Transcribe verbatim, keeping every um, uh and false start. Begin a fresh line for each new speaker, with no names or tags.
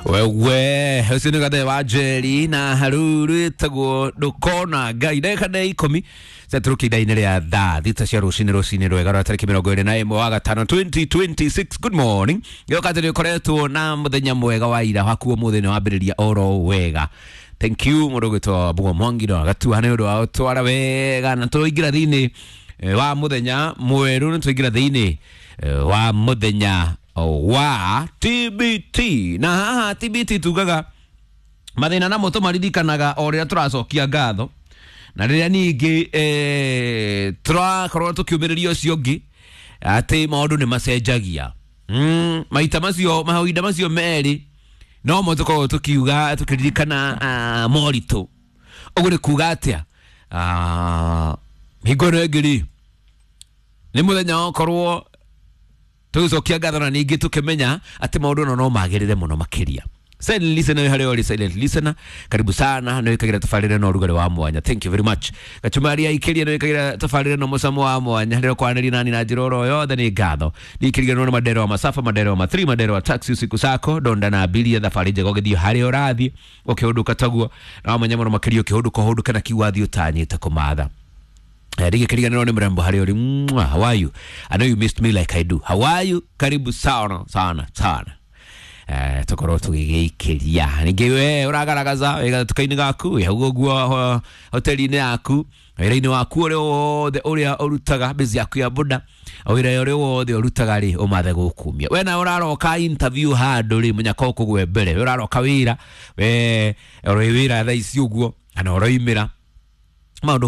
Wewe ũcio nĩ gathe wa Njeri na haruru ĩtagwo ndũkona Ngai. Ndagĩka nĩ ikũmi ciatũrũkia ithaa-inĩ rĩa thaa thita cia rũcinĩ, rũcinĩ rwega rwa tarĩki mĩrongo ĩrĩ na ĩmwe wa gatano twenty twenty-six. Good morning. Gĩoka atĩ nĩ ũkoretwo na mũthenya mwega wa ira waku, ũmũthĩ nĩ wambĩrĩria oro wega. Thank you mũndũ ũgwĩtwo Mbugo Mwangi no agatua nĩ ũndũ wa ũtwara wega na tũingĩra thĩinĩ eh, wa mũthenya mwerũ, nĩ tũingĩra thĩinĩ eh, wa mũthenya wa T B T, na haha T B T tugaga mathĩna namo tũmaririkanaga o rĩrĩa tũracokia ngatho na rĩrĩa ningĩ eh, tũrakorwo tũkĩũmĩrĩria ũcio ũngĩ atĩ maũndũ nĩ macenjagia. mm, maita macio, mahinda macio merĩ no mo tũkoragwo tũkiuga tũkĩririkana uh, moritũ. Ũguo nĩ kuga atĩa? uh, hingo ĩno ĩngĩ rĩ, nĩ mũthenya wakorwo tũgĩcokia ngatho na ningĩ tũkĩmenya atĩ maũndũ no no magĩrĩre mũno makĩria. Silent listener, harĩa ũrĩ silent listener, karibu sana. Nĩ wĩkagĩra tabarĩra na ũrugarĩ wa mwanya, thank you very much. Gachumari aikĩria nĩ wĩkagĩra tabarĩra na mũcamo wa mwanya rĩrĩa kwanĩria nani na njĩra oro yothe, nĩ ngatho. Nĩikĩriganĩrwo nĩ mandero wa masafa, mandero wa mathri, mandero wa taxi usiku sako donda na abiria, thabarĩ njega ũgĩthiĩ harĩa ũrathiĩ ũkĩhũndũka taguo na wamenya mũno makĩria ũkĩhũndũka ũhũndũke na kiu wathiĩ ũtanyĩte kũmatha. Rigikiriganĩrwo nĩ mrembo harĩa ũrĩ. Mwah, how are you? I know you missed me like I do. How are you? Karibu sana sana sana. Eh, tukorwo tũgĩgĩikĩria ningĩ we ũragaragaza wĩ gatuka-inĩ gaku, wĩ hau ũguo hoteli-inĩ yaku, wĩra-inĩ waku ũrĩa wothe ũrĩa ũrutaga, bĩzi yaku ya boda, wĩra ũrĩa wothe ũrutaga rĩ, ũmathe gũkumia. We nawe ũraroka interview handũ rĩ, mũnyaka ũkũgwe mbere. We ũraroka wĩra, we ũrĩ wĩra thaa ici ũguo kana ũroimĩra maũndũ.